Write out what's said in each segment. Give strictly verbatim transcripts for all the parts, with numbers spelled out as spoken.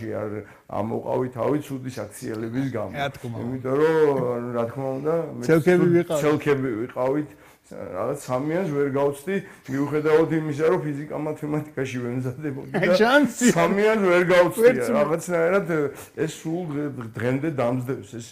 არ ამოყავი თავი ცუდი საქციელების გამო. იმიტომ რომ რა თქმა უნდა, ცელქები ვიყავით. რაღაც სამიანს ვერ გავწდი, მიუხედავად იმისა, რომ ფიზიკა მათემატიკაში ვემზადებოდი და სამიანს ვერ გავწდი. რაღაცნაირად ეს სულ დღემდე დამძდევს ეს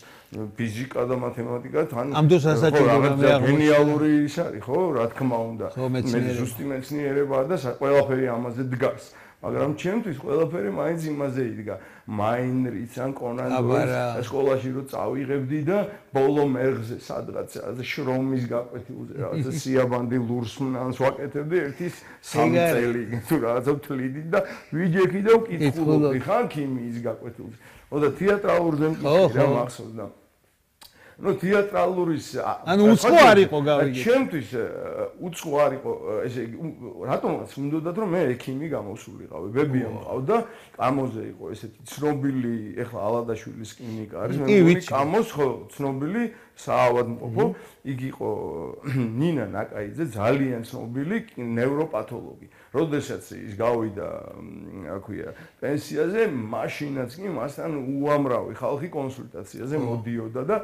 ფიზიკა და მათემატიკა თან ამ დროს ასაჭიროა მე აღმოჩნდა გენიალური ის არის, ხო, რა თქმა უნდა. მე ზუსტი მეცნიერებაა და ყველაფერი ამაზე დგას. მაგრამ ჩემთვის ყველაფერი მაინც იმაზე იდგა. მაინრიც ან კონან დოილს სკოლაში რო წავიღებდი და ბოლო მერღზე სადღაც შრომის გაკვეთილზე რაღაცა სიაბანდი ლურსმნანს ვაკეთებდი ერთი სამი წელი თუ რაღაცა თლიდი და ვიჯექი და ვკითხულობდი ხან ქიმიის გაკვეთილზე. ოდა თეატრალურზე მკითხე რა მახსოვდა. ну თეატრალურის ანუ უცხო არ იყო გავიგე. ჩემთვის უცხო არ იყო ესე რატომაც უნდათ რომ მე ექიმი გამოსულიყავი. ბებია მყავდა, კამოზე იყო ესეთი ცნობილი, ეხლა ალადაშვილის კლინიკა არის, მე მგონი კამოს ხო ცნობილი საავადმყოფო, იგი იყო ნინა ნაკაიძე, ძალიან ცნობილი ნევროპათოლოგი. როდესაც ის გავიდა, რა ქვია, პენსიაზე, მაშინაც კი მასთან უამრავი ხალხი კონსულტაციაზე მოდიოდა და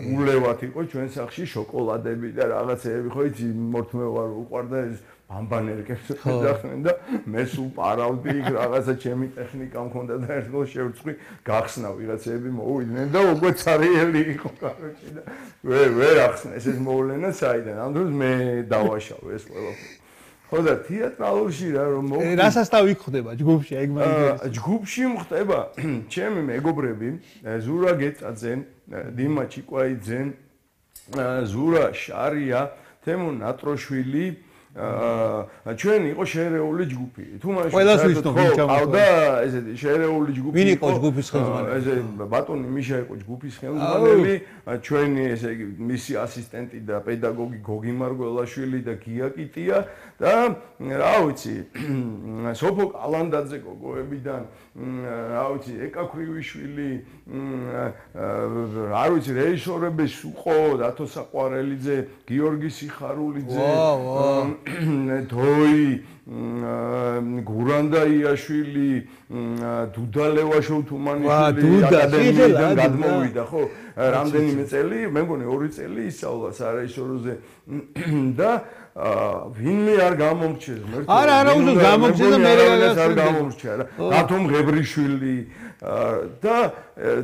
ულევად იყო ჩვენ სახლში შოკოლადები და რაღაცეები, ხო იცი, მორთმევა რო უყვარდა ეს ბამბანერკებს ეძახდნენ და მე სულ პარავდი იქ რაღაცა ჩემი ტექნიკა მქონდა და ერთხელ შევწყვი გახსნა ვიღაცები მოვიდნენ და უკვე ცარიელი იყო კაროჩი და ვერ ვერ ახსნა ეს ეს მოვლენა საიდან ამ დროს მე დავაშავე ეს ყველაფერი. ხო და თეატრალურში რა რომ მოვიდნენ რასასთავი ხდება ჯგუფში ეგ მაგ ჯგუფში მხდება ჩემი მეგობრები ზურა გეწაძე, დიმა ჩიკვაიძე, ზურა შარია, თემო ნატროშვილი აა ჩვენ იყო შერეული ჯგუფი. თუ მაშინ ყველას ვიცნობ ვინ ჩამოყვა. და ესეთი შერეული ჯგუფი. ვინ იყო ჯგუფის ხელმძღვანელი? ესე ბატონი მიშა იყო ჯგუფის ხელმძღვანელი, ჩვენი ესე იგი მისი ასისტენტი და პედაგოგი გოგი მარგველაშვილი და გია კიტია და რა ვიცი, სოფო კალანდაძე გოგოებიდან, რა ვიცი, ეკა ქრივიშვილი, რა ვიცი, რეჟისორები სუყო, დათო საყვარელიძე, გიორგი სიხარულიძე, დოი, გურანდა იაშვილი, დუდა ლევაშოვ-თუმანიშვილი აკადემიიდან გადმოვიდა, ხო? რამდენიმე წელი, მე მგონი ორი წელი ისწავლა სარეჟისოროზე და ვინმე არ გამომრჩეს მერტო. არა, არა, უზო გამომრჩეს და მე არ გამომრჩა რა. დათომ ღებრიშვილი და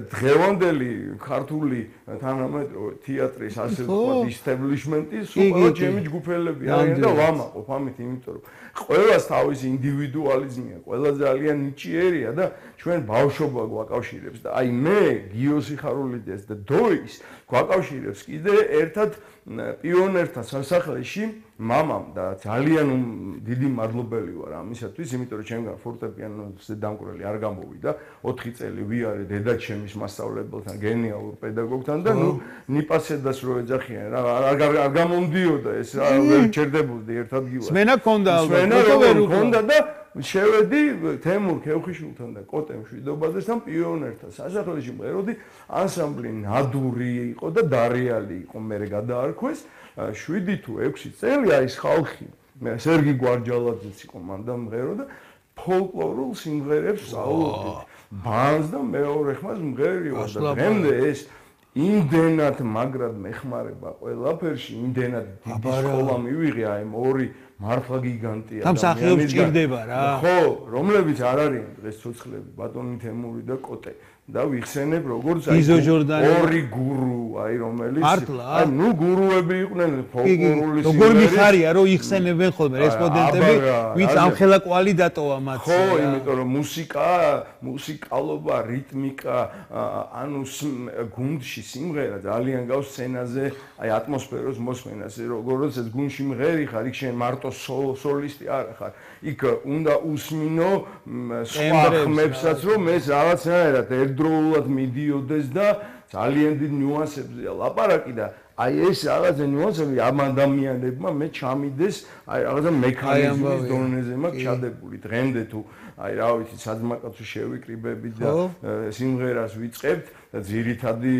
დღევანდელი ქართული თანამედროვე თეატრის ასე ვთქვათ ისტაბლიშმენტის სულ ჩემი ჯგუფელები არიან და ვამაყობ ამით, იმიტომ რომ ყველას თავისი ინდივიდუალიზმია, ყველა ძალიან ნიჭიერია და ჩვენ ბავშვობა გვაკავშირებს და აი მე გიო სიხარულიძეს და დოის გვაკავშირებს კიდე ერთად პიონერთა სასახლეში მამამ და ძალიან დიდი მადლობელი ვარ ამისათვის, იმიტომ რომ ჩემგან ფორტეპიანოზე დამკვირველი არ გამოვიდა, ოთხი წელი ვიარე დედაჩემის მასწავლებელთან, გენიალურ პედაგოგთან და ნუ ნიპასედას რო ეძახიან რა არ გამომდიოდა ეს რა ვერ ჩერდებოდი ერთ ადგილას. სმენა გქონდა ალბათ, ვერ გქონდა და შევედი თემურ ქევხიშვილთან და კოტე მშვიდობაძესთან პიონერთა სასახლეში მღეროდი, ანსამბლი ნადური იყო და დარიალი იყო, მე გადაარქვეს შვიდი თუ ექვსი წელი არის ხალხი. მე სერგი გვარჯალაძეც იყო მანდა მღერო და ფოლკლორულ სიმღერებს სწავლობდი. ბანს და მეორე ხმას მღერივარ და დღემდე ეს იმდენად მაგრად მეხმარება ყველაფერში, იმდენად დიდი სკოლა მივიღე აი ამ ორი მართლა გიგანტია და მსახიობს ჭირდება რა. ხო, რომლებიც არ არიან დღეს ცოცხლები, ბატონი თემური და კოტე. და ვიხსენებ როგორც აი ორი გურუ, აი რომელიც აი ნუ გურუები იყვნენ ფოლკლორული სიმღერები. როგორ მიხარია რომ იხსენებენ ხოლმე რესპონდენტები, ვინც ამხელა კვალი დატოვა მათ. ხო, იმიტომ რომ მუსიკა, მუსიკალობა, რიტმიკა, ანუ გუნდში სიმღერა ძალიან გავს სცენაზე, აი ატმოსფეროს მოსმენას, როგორც ეს გუნდში მღერი ხარ, იქ შენ მარტო სოლისტი არ ხარ. იქ უნდა უსმინო სხვა ხმებსაც, რომ ეს რაღაცნაირად ერთდროულად მიდიოდეს და ძალიან დიდ ნიუანსებზეა ლაპარაკი და აი ეს რაღაცა ნიუანსები ამ ადამიანებმა მე ჩამიდეს აი რაღაცა მექანიზმის დონეზე მაქვს ჩადებული დღემდე თუ აი რა ვიცი საძმაკაცო შევიკრიბებით და სიმღერას ვიწყებთ და ძირითადი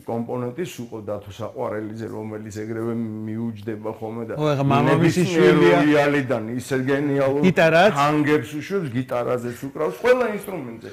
კომპონენტი სუყო დათო საყვარელიძე რომელიც ეგრევე მიუჯდება ხოლმე და მამამისის შვილია რეალიდან ისე გენიალურ ჰანგებს უშვებს გიტარაზეც უკრავს ყველა ინსტრუმენტზე